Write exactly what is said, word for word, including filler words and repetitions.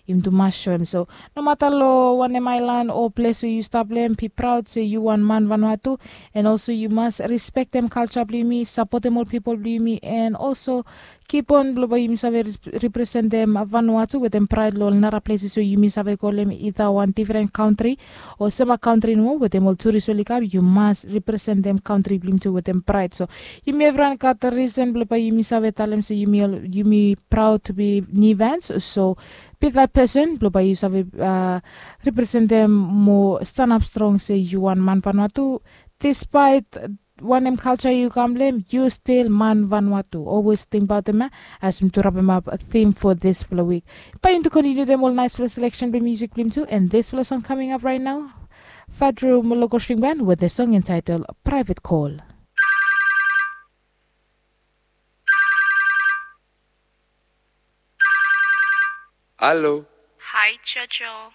Yumi tu mas soem so, nomata long wanem aelan o ples we yu stap long em, bi praod se yu wan man vanua tu. An olso yu mas rispektem kalja blong yumi, sapotem ol pipol blong yumi, an olso kipon blong bae yumi save representem vanua tu wetem praed long ol nara pleses we yumi save go long em, ida wan difren kantri o sama kantri nomo wetem ol turis oli kam, yu mas representem kantri blong yumi tu wetem praed. So yumi evriwan gat risen blong bae yumi save talem se yumi praod tu bi Nivans. So bi dat pesen blong bae yu save representem mo stanap strong se yu wan man vanua tu, dispaet wanem kalja yu kam long em, yu stil man vanua tu. Olwes tingbaotem ya as yumi tu rapemap tim fo disfala wik. Bae yumi tu kontiniutem ol naesfala seleksen blong musik blong yumi tu, an disfala song kaming ap raet nao. Fadrum Local String Band with the song entitled Private Call. Halo. Hi, Jojo.